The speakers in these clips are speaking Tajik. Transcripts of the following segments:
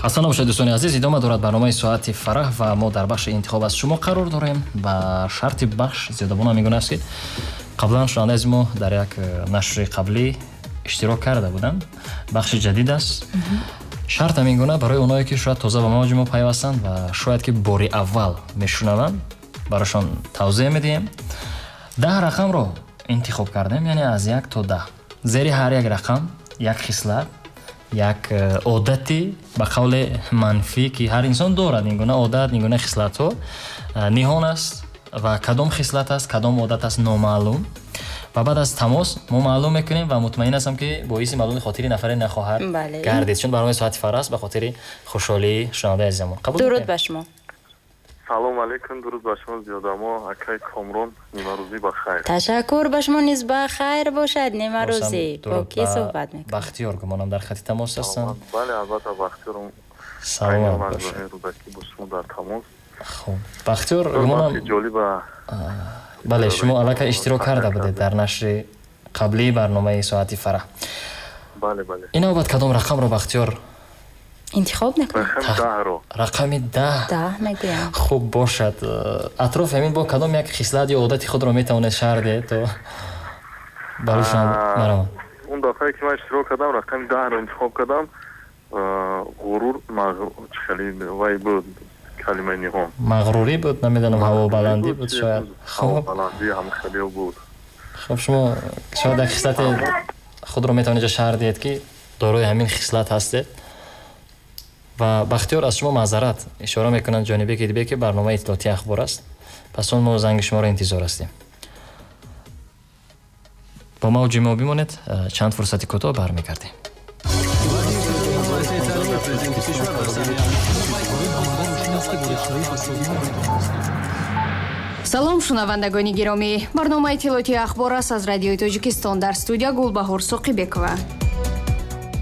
Хаста набошед, дӯстони азиз, идома дорад барномаи Соати Фараҳ ва мо дар бахши интихоб аз шумо қарор дорем ва шарти бахш зиёдабона мегӯяд аст, ки қаблан шунавандаи аз мо дар як нашри қаблӣ иштирок карда буданд. Бахши ҷадид аст. Шарт ҳамин гуна барои онҳое, ки шояд тоза ба мавҷи мо пайвастанд ва шояд ки бори аввал мешунаванд, барошон тавзеҳ медиҳем. 10 рақамро интихоб кардем, яъне аз 1 то 10. Зери ҳар як рақам як хислат, як одати ба қавли манфӣ, ки ҳар инсон дорад, ин гуна одат, ин гуна хислатҳо ниҳон аст ва кадом хислат аст, кадом одат аст номаълум. Ва баъд аз тамос мо маълум мекунем ва мутмаин ҳастам, ки боиси малули хотири нафаре нахоҳад гардид, чун барномаи Соати Фараҳ аст ба хотири хушҳолии шунавандаи азизамон. Қабул Дуруд ба шумо. Салом алейкум, дуруд ба шумо зиёдамо, акай Комрон, нимарӯзӣ ба хайр. Ташаккур, ба шумо низ ба хайр бошад нимарӯзӣ. Бо кӣ суҳбат мекунем? Бахтиёр гумонам дар хати тамос ҳастанд. Бале, албатта Бахтиёрам. Саломат бошед. Бо шумо дар тамос. Хуб, Бахтиёр гумонам ҷолиба. Бале, шумо аллакай иштирок карда будед дар нашри қаблии барномаи Соати Фараҳ. Бале, бале. Ин навбат кадом рақамро Бахтиёр интихоб мекунам? Рақами 10. 10 мегӯям. Хуб бошад. Атрофи ҳамин бо кадом як хислат ё одати худро метавонед шарҳ диҳед то барои шумо маромад? Он дафъае ки ман иштирок кардам, рақами 10-ро интихоб кардам. Ғурур, хеле вай буд, калимаи ниҳон. Мағрурӣ буд, намедонам, ҳавобаландӣ буд шояд. Хуб, ҳавобаландӣ ҳам хеле буд. Хуб, шумо шояд як хислати худро метавонед шарҳ диҳед, ки дорои ҳамин хислат ҳастед. Ва Бахтиёр, аз шумо маъзарат ишора мекунанд ҷонибе ки дибе ки барномаи иттилоотии ахбор аст. Пас он мо занги шуморо интизор ҳастем. Бо мавҷи мо бимонед, чанд фурсати кӯтоҳ бармегардем. Салом, шунавандагони гиромӣ. Барномаи иттилоотии ахбор аст аз Радиои Тоҷикистон. Дар студия Гулбаҳор Соқибекова.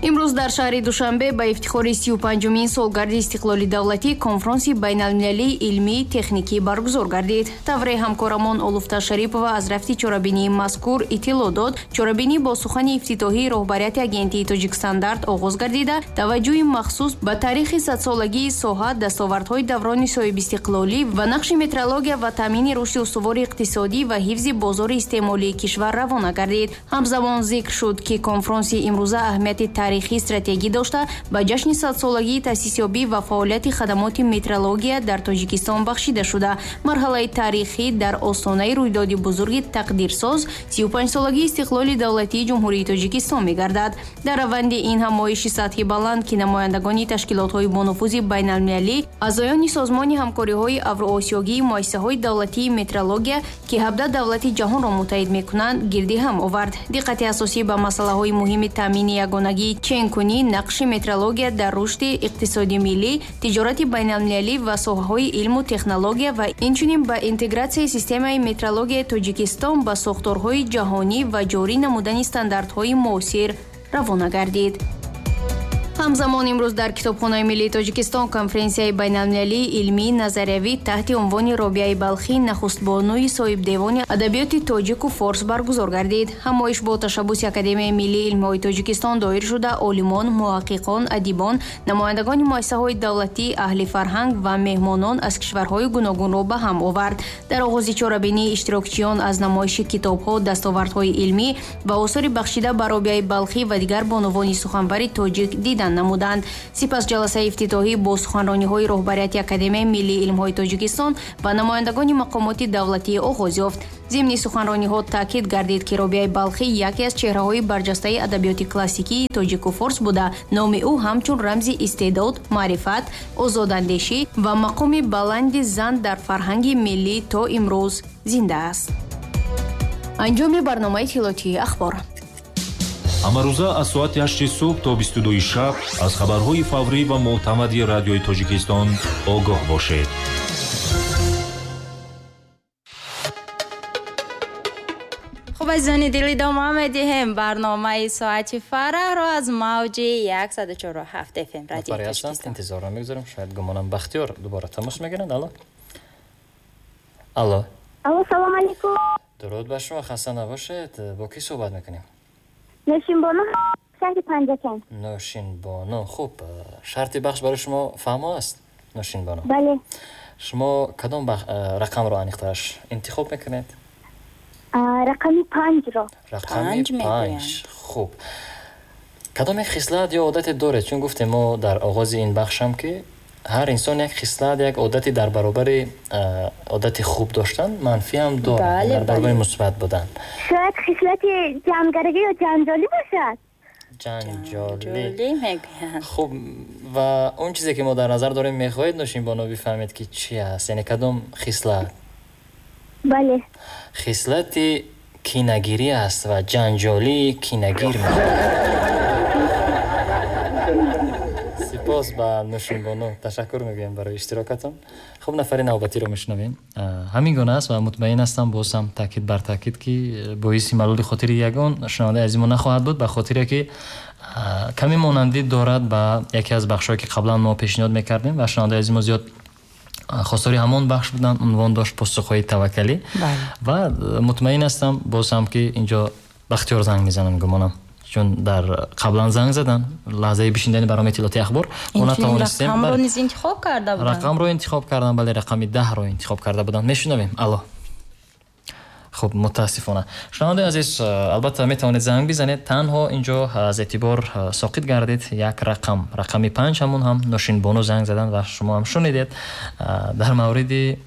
Имрӯз дар шаҳри Душанбе ба ифтихори 35-умин солгарди истиқлоли давлатӣ конфронси байналмилалии илмии техникӣ баргузор гардид. Тавре ҳамкорамон Олуфта Шарипова аз рафти чорабинии мазкур иттилоъ дод, чорабинӣ бо сухани ифтитоҳии роҳбарияти агентии Тоҷикстандарт оғоз гардида, таваҷҷӯҳи махсус ба таърихи садсолагии соҳа, дастовардҳои даврони соҳибистиқлолӣ ва нақши метрология ва таъмини рушди устувори иқтисодӣ ва ҳифзи бозори истеъмолии кишвар равона гардид. Ҳамзамон зикр шуд, ки конфронси имрӯза аҳамияти таърихӣ стратегӣ дошта, ба ҷашни садсолагии таъсисёбӣ ва фаъолияти хадамоти метрология дар Тоҷикистон бахшида шуда. Марҳалаи таърихӣ дар остонаи рӯйдоди бузурги тақдирсоз 35-солагии истиқлоли давлатии Ҷумҳурии Тоҷикистон мегардад. Дар раванди ин ҳамоиши сатҳи баланд, ки намояндагони ташкилотҳои бонуфузи байналмилалӣ, аъзоёни созмони ҳамкориҳои авроосиёгии муассисаҳои давлатии метрология, ки 17 давлати ҷаҳонро муттаҳид мекунанд, гирди ҳам овард. Диққати асосӣ ба масъалаҳои муҳими таъмини ягонагии ченкунӣ, нақши метрология дар рушди иқтисоди миллӣ, тиҷорати байналмилалӣ ва соҳаҳои илму технология ва инчунин ба интегратсияи системаи метрологияи Тоҷикистон ба сохторҳои ҷаҳонӣ ва ҷорӣ намудани стандартҳои муосир равона гардид. Ҳамзамон имрӯз дар Китобхонаи миллии Тоҷикистон конференсияи байналмилалии илмии назариявӣ таҳти унвони Робиаи Балхӣ, нахустбонуи соҳибдевони адабиёти тоҷику форс баргузор гардид. Ҳамоиш бо ташаббуси Академияи миллии илмҳои Тоҷикистон доир шуда, олимон, муҳаққиқон, адибон, намояндагони муассисаҳои давлатӣ, аҳли фарҳанг ва меҳмонон аз кишварҳои гуногунро ба ҳам овард. Дар оғози чорабинӣ иштирокчиён аз намоиши китобҳо, дастовардҳои илмӣ ва осори бахшида ба Робиаи Балхӣ ва дигар бонувони суханвари тоҷик дидан намуданд. Сипас ҷаласаи ифтитоҳӣ бо суханрониҳои роҳбарияти Академияи миллии илмҳои Тоҷикистон ва намояндагони мақомоти давлатӣ оғоз ёфт. Зимни суханрониҳо таъкид гардид, ки Робиаи Балхӣ яке аз чеҳраҳои барҷастаи адабиёти классикии тоҷику форс буда, номи ӯ ҳамчун рамзи истеъдод, маърифат, озодандешӣ ва мақоми баланди зан дар фарҳанги миллӣ то имрӯз зинда аст. Анҷоми барномаи иттилоотии ахбор. Ҳамарӯза аз соати 8 субҳ то 22 шаб аз хабарҳои фаврӣ ва мӯътамади Радиои Тоҷикистон огоҳ бошед. Хуб, азизони дил, идома медиҳем барномаи Соати Фараҳро аз мавҷи 104.7 FM Радиои Тоҷикистон. Интизорро мегузорем, шояд гумонам Бахтиёр дубора тамос мегиранд. Алло. Алло. Алло, салом алейкум. Дуруд ба шумо, хаста набошед. Бо кӣ суҳбат мекунем? Нешинбону. Шаҳри Панҷакент. Нӯшинбону. Хуб, шарти бахш барои шумо фаҳмо аст, Нӯшинбону? Бале. Шумо кадом рақамро аниқтараш интихоб мекунед? Рақами 5-ро. Рақами 5. Хуб. Кадом як хислат ё одате доред? Чун гуфтем мо дар оғози ин бахшам, ки ҳар инсон як хислат, як одати дар баробари одати хуб доштан манфӣ ҳам дорад, дар баробари мусбат будан. Шояд хислати ҷангарагӣ ё ҷанҷолӣ бошад. Ҷанҷолӣ мегӯянд. Хуб, ва он чизе ки мо дар назар дорем, мехоҳед, Нӯшинбону, бифаҳмед, ки чӣ аст? Яъне кадом хислат? Бале. Хислати кинагирӣ аст ва ҷанҷолии кинагир мешавад. Сипос ба Нӯшинбону, ташаккур мегӯем барои иштирокатон. Хуб, нафари навбатиро мешунавем. Ҳамин гуна аст ва мутмаин ҳастам, боз ҳам таъкид бар таъкид, ки боиси малули хотири ягон шунавандаи азизи мо нахоҳад буд, ба хотире ки каме монандӣ дорад ба яке аз бахшҳое, ки қаблан мо пешниҳод мекардем ва шунавандаи азизи мо зиёд хостори ҳамон бахш буданд. Унвон дошт «Посухҳои таваккалӣ». Ва мутмаин ҳастам боз ҳам, ки инҷо Бахтиёр занг мезанам, гумонам, чун дар қаблан занг задан лаҳзаи бишнидани барномаи иттилоотии ахбор мо натавонистем. Рақамро низ интихоб карда буданд. Рақамро интихоб кардам, бале, рақами 10-ро интихоб карда буданд. Мешунавем. Алло. Хуб, мутаассифона. Шунавандаи азиз, албатта метавонед занг бизанед, танҳо инҷо аз эътибор соқит гардид як рақам, рақами 5, ҳамон ҳам Нӯшинбону занг задан ва шумо ҳам шунидед, дар мавриди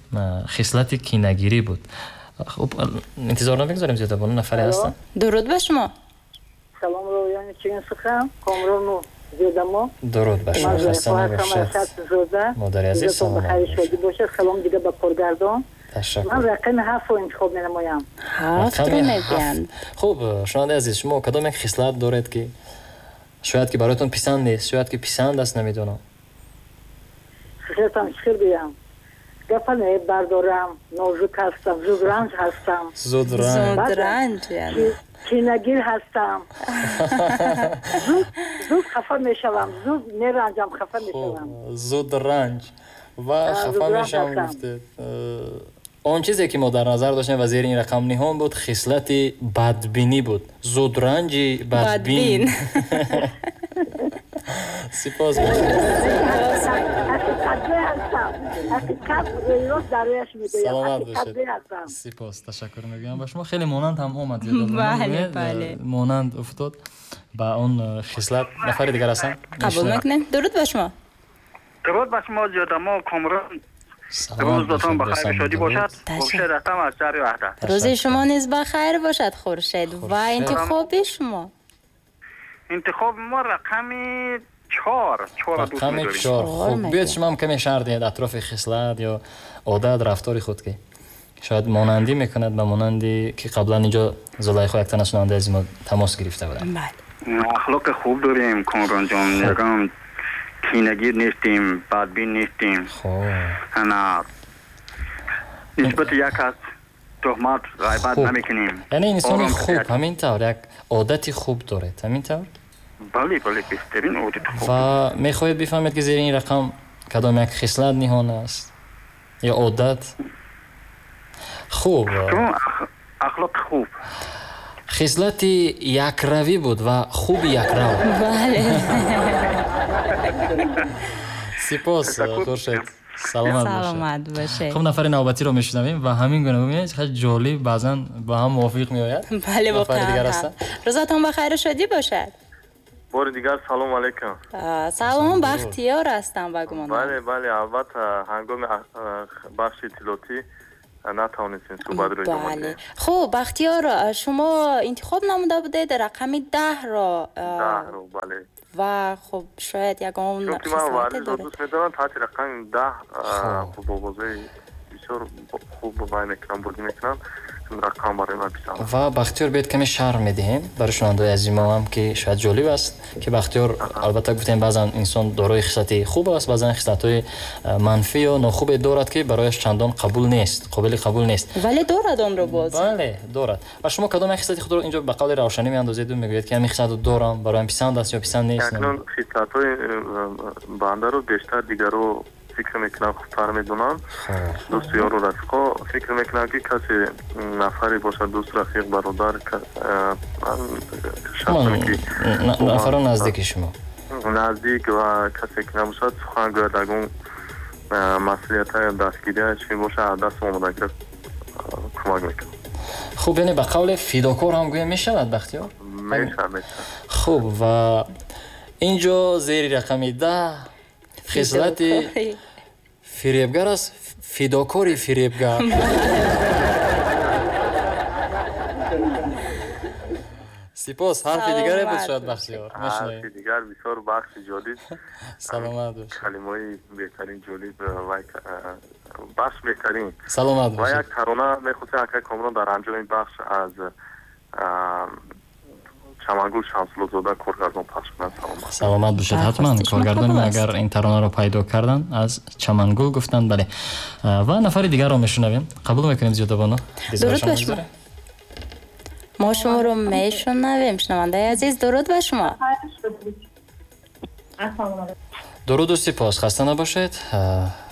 хислати кинагирӣ буд. Хуб, интизор намегузорем зиёда, бону нафаре ҳастанд. Дуруд ба шумо. Салом рӯёни чигин сухан, Комрону Зиёдамо. Дуруд ба шумо, хаста набошед. Модари азиз, салом бошад. Салом дига ба коргардон. Ман рақами 7-ро интихоб менамоям. 7-ро мегӯянд. Хуб, шунавандаи азиз, шумо кадом як хислат доред, ки шояд ки бароятон писанд нест, шояд ки писанд аст, намедонам. Хислатам чӣ хел гӯям? Гапа бардорам, нозук ҳастам, зудранҷ ҳастам. Зудранҷ, яъне кинагир ҳастам. Зуд хафа мешавам, зуд меранҷам, хафа мешавам. Зудранҷ ва хафа мешавам гуфтед. Он чизе ки мо дар назар доштем ва зери ин рақам ниҳон буд, хислати бадбинӣ буд. Зудранҷи бадбин. Сипос. Саломат бошед. Сипос, ташаккур мегӯям ба шумо. Хеле монанд ҳам омад. Бале, бале. Монанд уфтод ба он хислат. Нафари дигар ҳастанд. Қабул мекунем. Дуруд ба шумо. Дуруд ба шумо, Зиёдамо, Комрон. Рӯзатон ба хайр шодӣ бошад. Хуршед ҳастам аз шаҳри Ваҳдат. Рӯзи шумо низ ба хайр бошад, Хуршед. Ва интихоби шумо? Интихоби мо рақами 4. 4-ро дӯст Рақами медорем. 4. Хуб, биёед шумо ҳам каме шарҳ диҳед атрофи хислат ё одат, рафтори худ, ки шояд монандӣ мекунад ба монанди ки қаблан инҷо Зулайхо як тан аз шунавандаи аз мо тамос гирифта буданд. Бале. Ахлоқи хуб дорем, Комрон ҷон. Ягон кинагир нестем, бадбин нестем. Хуб. Ана нисбати як кас туҳмат, ғайбат намекунем. Яъне инсони хуб, ҳамин тавр як одати хуб доред, ҳамин тавр? Бале, бале, беҳтарин одати хуб. Ва мехоҳед бифаҳмед, ки зери ин рақам кадом як хислат ниҳон аст ё одат? Хуб. Ахлоқи хуб. Хислати якравӣ буд ва хуби якрав. Бале. Сипос, Хуршед. Саломат бошед. Саломат бошед. Хуб, нафари навбатиро мешунавем ва ҳамин гуна бубинед, чақадр ҷолиб, баъзан ба ҳам мувофиқ меояд. Бале, нафари дигар воқеан. ҳастанд. Рӯзатон ба хайру шодӣ бошад. Бори дигар салом алейкум. Салом, Бахтиёр ҳастам ба гумонам. Бале, бале, албатта ҳангоми бахши иттилоотӣ натавонистем суҳбатро идома Бале. диҳем. Хуб, Бахтиёр, шумо интихоб намуда будед рақами 10-ро. 10-ро, бале. Ва хуб, шояд ягон Чунки ман хислате варзишро доред. дӯст медорам, таҳти рақами 10 футболбозои бисёр хуб бай мекунам, бозӣ мекунам. Рақам барои ман писанд. Ва Бахтиёр, биёед каме шарҳ медиҳем барои шунавандаои азизи мо ҳам, ки шояд ҷолиб аст, ки Бахтиёр, албатта гуфтем, баъзан инсон дорои хислати хуб аст, баъзан хислатҳои манфӣ ё нохубе дорад, ки барояш чандон қабул нест, қобили қабул нест. Вале дорад онро боз. Бале, дорад. Ва шумо кадом як хислати худро инҷо ба қавли равшанӣ меандозеду мегӯед, ки ҳамин хислатро дорам, бароям писанд аст ё писанд нест? Акнун хислатҳои бандаро бештар дигарро Фикр мекунам хубтар медонанд. Дӯсту ёру рафиқо фикр мекунам ки касе нафаре бошад, дӯст, рафиқ, бародар, нафаро наздики шумо, наздик ва касе ки набошад, сухан гӯяд, ягон масъулията дастгирия чи бошад, аз даст омода кӯмак мекунам. Хуб, яъне ба қавле фидокор ҳам гӯя мешавад, Бахтиёр? Мешавад. Хуб, ва инҷо зери рақами 10 хислати фиребгар аст, фидокори фиребгар. Сипос. Ҳарфи дигаре буд шояд, Бахтиёр? Ҳарфи дигар бисёр бахши ҷолиб. Саломат бошед. Калимаҳои беҳтарин, ҷолиб ва бахш беҳтарин. Саломат бошед. Ва як тарона мехостем акай Комрон дар анҷоми бахш аз Чамангул Шамсуллозода коргардон пахш кунад. Саломат бошед. Ҳатман коргардони мо агар ин таронаро пайдо карданд, аз Чамангул гуфтанд, бале. Ва нафари дигарро мешунавем. Қабул мекунем, Зиёдабону. Дуруд ба шумо. Мо шуморо мешунавем, шунавандаи азиз. Дуруд ба шумо. Дуруду сипос. Хаста набошед.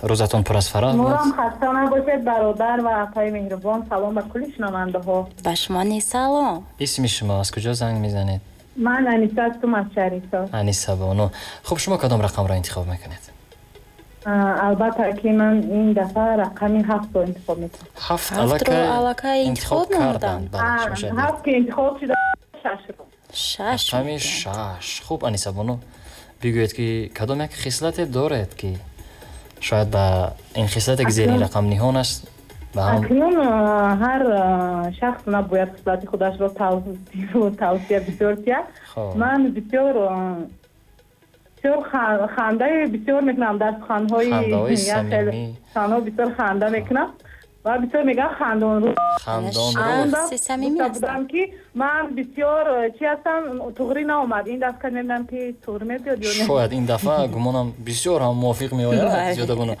Рӯзатон пур аз фараҳ бод. Нурам хаста набошед, бародар ва апаи меҳрубон. Салом ба кулли шунавандаҳо. Ба шумо низ салом. Исми шумо, аз куҷо занг мезанед? Ман Аниса ҳастам аз Шаҳрисо. Аниса бону. Хуб, шумо кадом рақамро интихоб мекунед? Албатта ки ман ин дафъа рақами 7-ро интихоб мекунам. 7 аллакай интихоб карданд. 7 ки интихоб шуда, 6-ро. 6. Рақами 6. Хуб, Аниса бону, бигӯед ки кадом як хислате доред ки шояд ба ин хислате ки зери ин рақам ниҳон аст ба ҳам акнун ҳар шахс набояд хислати худашро тавсия бисёр кунад. Ман бисёр хандаи бисёр мекунам дар суханҳои суханҳо, бисёр ханда мекунам ва бисёр мегӯям хандонрӯ. Хандонрӯ ки ман бисёр чи ҳастам, туғрӣ наомад. Ин дафъа намедонам ки туғрӣ мебиёд ё не. Шояд ин дафъа гумонам бисёр ҳам мувофиқ меояд. Зиёдабону,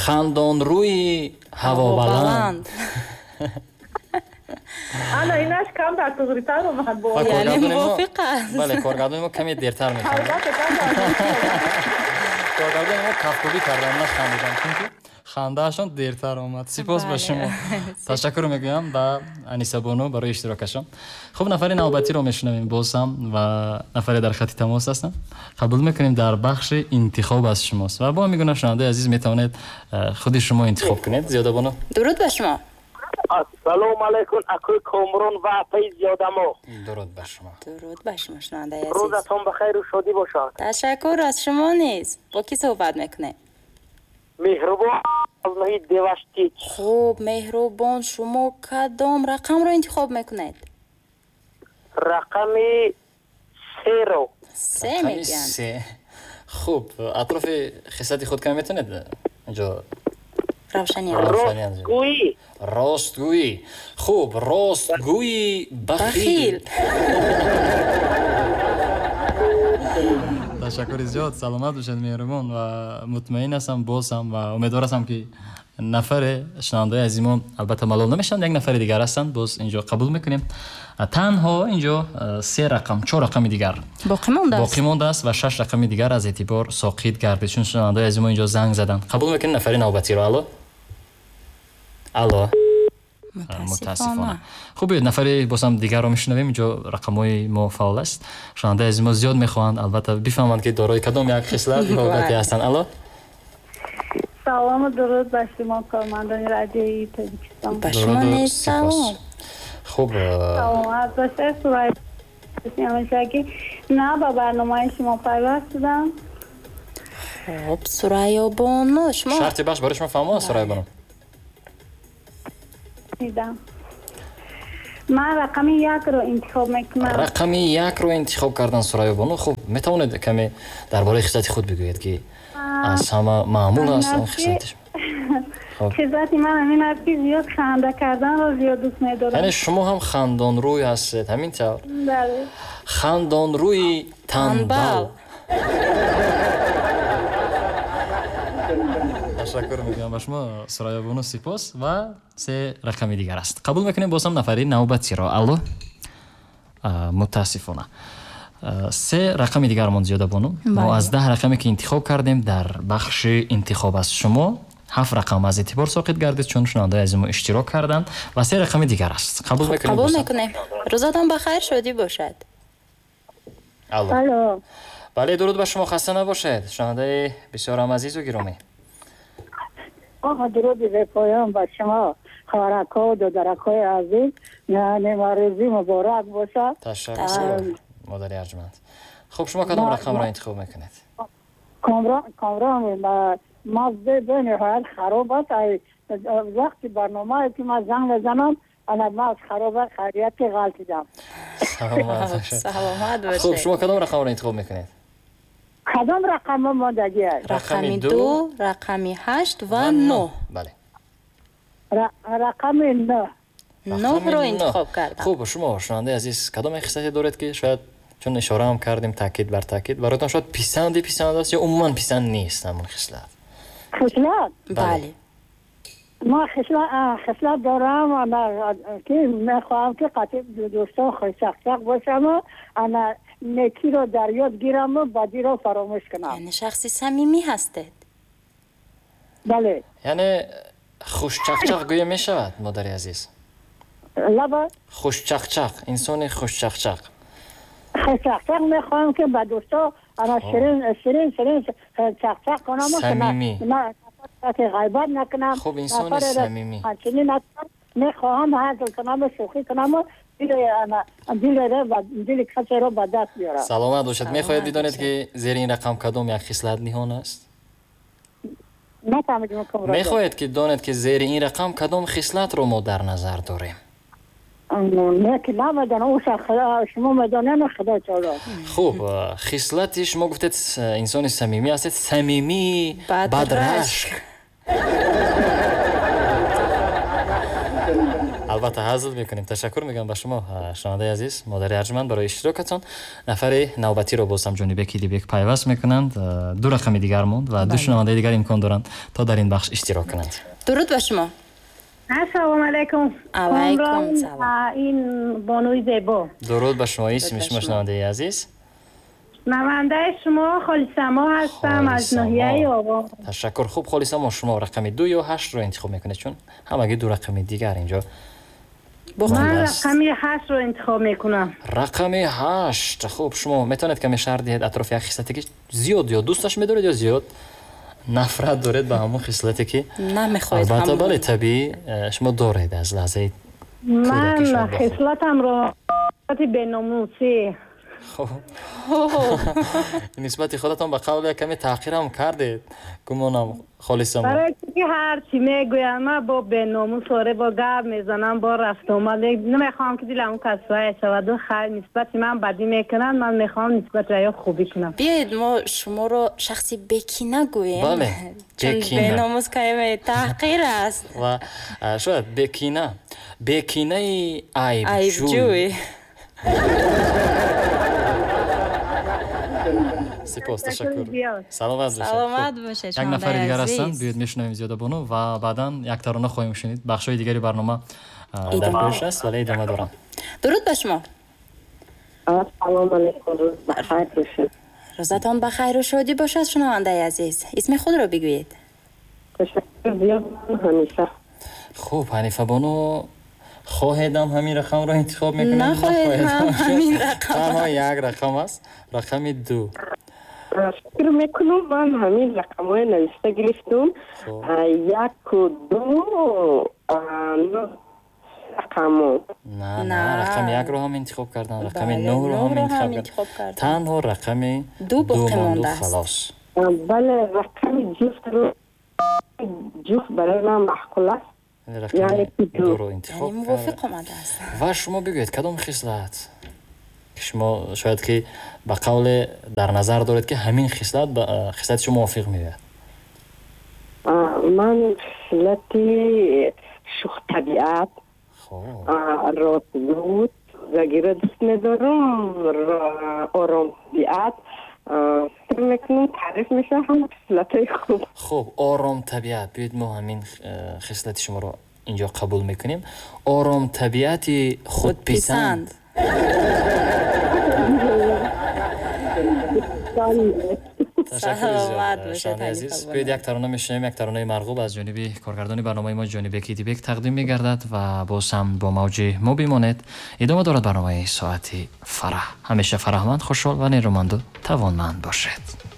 хандонрӯи ҳавобаланд. Ана инаш камтар туғритар омад. Яъне мувофиқ аст. Бале, коргардони мо каме дертар механдад. Коргардони мо кафкӯбӣ карданд, нахандиданд, чунки хандаашон дертар омад. Сипос ба шумо. Ташаккур мегӯям ба Аниса бону барои иштирокашон. Хуб, нафари навбатиро мешунавем боз ҳам ва нафаре дар хати тамос ҳастанд. Қабул мекунем, дар бахши интихоб аз шумост. Ва бо мегӯям шунавандаи азиз, метавонед худи шумо интихоб кунед. Зиёда бону. Дуруд ба шумо. Ассалому алайкум, акои Комрон ва апаи Зиёдамо. Дуруд ба шумо. Дуруд ба шумо, шунавандаи азиз. Рӯзатон ба хайру шодӣ бошад. Ташаккур аз шумо низ. Бо кӣ суҳбат мекунем? Меҳрубон аз ноҳияи Деваштич. Хуб, Меҳрубон, шумо кадом рақамро интихоб мекунед? Рақами 3-ро. 3 мегӯянд. 3. Хуб, атрофи хислати худ каме метавонед инҷо равшанӣ? Ростгӯӣ. Ростгӯӣ. Хуб, ростгӯи бахил. Ташаккури зиёд, саломат бошед, меҳрубон, ва мутмаин ҳастам боз ҳам ва умедвор ҳастам ки нафаре шунавандаи азимон албатта малол намешаванд. Як нафари дигар ҳастанд, боз инҷо қабул мекунем. Танҳо инҷо 3 рақам, 4 рақами дигар боқӣ мондааст ва 6 рақами дигар аз эътибор соқит гардид, чун шунавандаи азимон инҷо занг заданд. Қабул мекунем нафари навбатиро. Алло, алло. Мутаассифона. Хуб, биёед нафари боз ҳам дигарро мешунавем. Инҷо рақамҳои мо фаъол аст. Шунавандаи азиз мо зиёд мехоҳанд албатта бифаҳманд ки дорои кадом як хислат ҳолате ҳастанд. Алло. Салому дуруд ба шумо, кормандони радиои Тоҷикистон. Ба шумо низ салом. Хуб, саломат бошед. Сурай ҳамешагӣ на ба барномаи шумо пайваст шудам. Хуб, Сурайё бону, шумо шарти бахш барои шумо фаҳмо, Сурайё бону? Дидам. Ман рақами 1-ро интихоб мекунам. Рақами 1-ро интихоб кардан, Сурайё бону. Хуб, метавонед каме дар бораи хислати худ бигӯед ки аз ҳама маъмул аст он хислати шумо? Хислати ман ҳамин аст ки зиёд ханда карданро зиёд дӯст медорам. Яъне шумо ҳам хандонрӯй ҳастед, ҳамин тавр? Бале. Хандонрӯи танбал. Ташаккур мегӯям ба шумо, Сурайё бону, сипос. Ва 3 рақами дигар аст. Қабул мекунем боз ҳам нафари навбатиро. Алло. Мутаассифона. Се рақами дигармон зиёда бону. Мо аз 10 рақаме ки интихоб кардем дар бахши интихоб аз шумо 7 рақам аз эътибор соқит гардид, чун шунавандаи азизи мо иштирок карданд ва се рақами дигар аст. Қабул мекунем? Қабул мекунем. Рӯзатон ба хайр, шодӣ бошад. Алло. Бале, дуруд ба шумо, хаста набошед. Шунавандаи бисёр ҳам азизу гиромӣ. Дуруди бепоён ба шумо, хоҳаракҳо, додаракҳои азиз. Нимарӯзӣ муборак бошад. Ташаккур, модари арҷманд. Хуб, шумо кадом рақамро интихоб мекунед? Комрон, ман бениҳоят хароб аст. Вақти барномае ки ман занг мезанам, ана ман хароб аст, хайрият ки ғалтидам. Саломат бошед. Хуб, шумо кадом рақамро интихоб мекунед? Кадом рақамҳо мондагӣ аст? Рақами 2, рақами 8 ва 9. Бале. Рақами 9. 9-ро интихоб кардам. Хуб, шумо шунавандаи азиз, кадом хислате доред ки шояд чун ишора ҳам кардем, таъкид бар таъкид, бароятон шояд писанди писанд аст ё умуман писанд нест ҳамон хислат? Хислат? Бале. Ман хислат дорам, ки мехоҳам ки қатъи дӯстон хушчақчақ бошам, ана некиро дар ёд гираму бадиро фаромӯш кунам. Яъне шахси самимӣ ҳастед? Бале. Яъне хушчақчақ гӯя мешавад, модари азиз? Лаба? Хушчақчақ, инсони хушчақчақ. Хушчақчақ мехоҳам ки ба дӯсто ана ширин ширин ширин чақчақ кунам, самимӣ, ғайбат накунам. Хуб, инсони самимӣ. Ҳамчунин мехоҳам ҳазл кунаму шӯхӣ кунаму дили касеро ба даст биёрам. Саломат бошед. Мехоҳед бидонед ки зери ин рақам кадом як хислат ниҳон аст? Мехоҳед ки донед ки зери ин рақам кадом хислатро мо дар назар дорем? Не, ки намедонам, шумо медонед, худо таоло. Хуб, хислати шумо гуфтед инсони самимӣ ҳастед, самимии бадрашк. Албатта ҳазл мекунем. Ташаккур мегӯям ба шумо, шунавандаи азиз, модари арҷманд, барои иштирокатон. Нафари навбатиро боз ҳам Ҷонибек Илибек пайваст мекунанд. Ду рақами дигар монд ва ду шунавандаи дигар имкон доранд то дар ин бахш иштирок кунанд. Дуруд ба шумо. Ассалому алайкум. Алайкум салом. Ин бонуи зебо. Дуруд ба шумо, исми шумо шунавандаи азиз? Шунавандаи шумо Холисамо ҳастам аз ноҳияи Ово. Ташаккур. Хуб, Холисамо, шумо рақами 2 ё 8-ро интихоб мекунед, чун ҳамагӣ ду рақами дигар инҷо. Ман рақами 8-ро интихоб мекунам. Рақами 8. Хуб, шумо метавонед каме шарҳ диҳед атрофи як хислате ки зиёд ё дӯсташ медоред ё зиёд нафрат доред ба ҳамон хислате ки намехоҳед? Албатта, бале, табиӣ шумо доред аз лаҳзаи кӯдакӣ. Ман хислатамро беномусӣ. Хуб, нисбати худатон ба қавле каме таҳқирам кардед, гумонам, Холисамо. Барои ки ҳарчи мегӯям, ман бо беномус оре бо гап мезанам, бо рафтуомад. Намехоҳам ки дилам касвае шавад. Хайр, нисбати ман бадӣ мекунанд, ман мехоҳам нисбати ё хубӣ кунам. Биёед мо шуморо шахси бекина гӯем. Бале, чун беномус калимаи таҳқир аст. Ва шояд бекина, бекинаи айбҷӯй. Сипос, ташаккур. Саломат бошед. Саломат бошед. Як нафари дигар ҳастанд, биёед мешунавем зиёда бону ва баъдан як тарона хоҳем шунид. Бахшҳои дигари барнома дар пеш аст, вале идома дорам. Дуруд ба шумо. Ассалому алайкум, рӯз ба хайр бошед. Рӯзатон ба хайру шодӣ бошад, шунавандаи азиз. Исми худро бигӯед. Ташаккур зиёд, Ҳанифа. Хуб, Ҳанифа бону, хоҳедам ҳамин рақамро интихоб мекунем? Нахоҳедам ҳамин рақам. Танҳо як рақам аст, рақами 2. Фикр мекунам ман ҳамин рақамҳои навишта гирифтум. 1 2 9 рақамо. На, рақами 1-ро ҳам интихоб кардам, рақами 9-ро ҳам интихоб кардам. Танҳо рақами 2 боқӣ мондааст. Халос. Бале, рақами ҷуфтро ҷуфт барои ман маъқул аст. Рақами 2-ро интихоб кардам. Мувофиқ омадааст. Ва шумо бигӯед кадом хислат шумо шояд ки ба қавле дар назар доред ки ҳамин хислат ба хислати шумо мувофиқ меояд? Ман хислати шӯхтабиат, ростгӯ, тозагиро дӯст медорам, оромтабиат. Фикр мекунам таъриф мешавад ҳам хислатҳои хуб. Хуб, оромтабиат. Биёед мо ҳамин хислати шуморо инҷо қабул мекунем. Оромтабиати худписанд. Саломат бошед. Азиз, биёед як тарона мешунавем, як таронаи марғуб аз ҷониби коргардони барномаи мо Ҷонибек Идибек тақдим мегардад ва боз ҳам бо мавҷи мо бимонед. Идома дорад барномаи Соати фараҳ. Ҳамеша фараҳманд, хушҳол ва нерӯманду тавонманд бошед.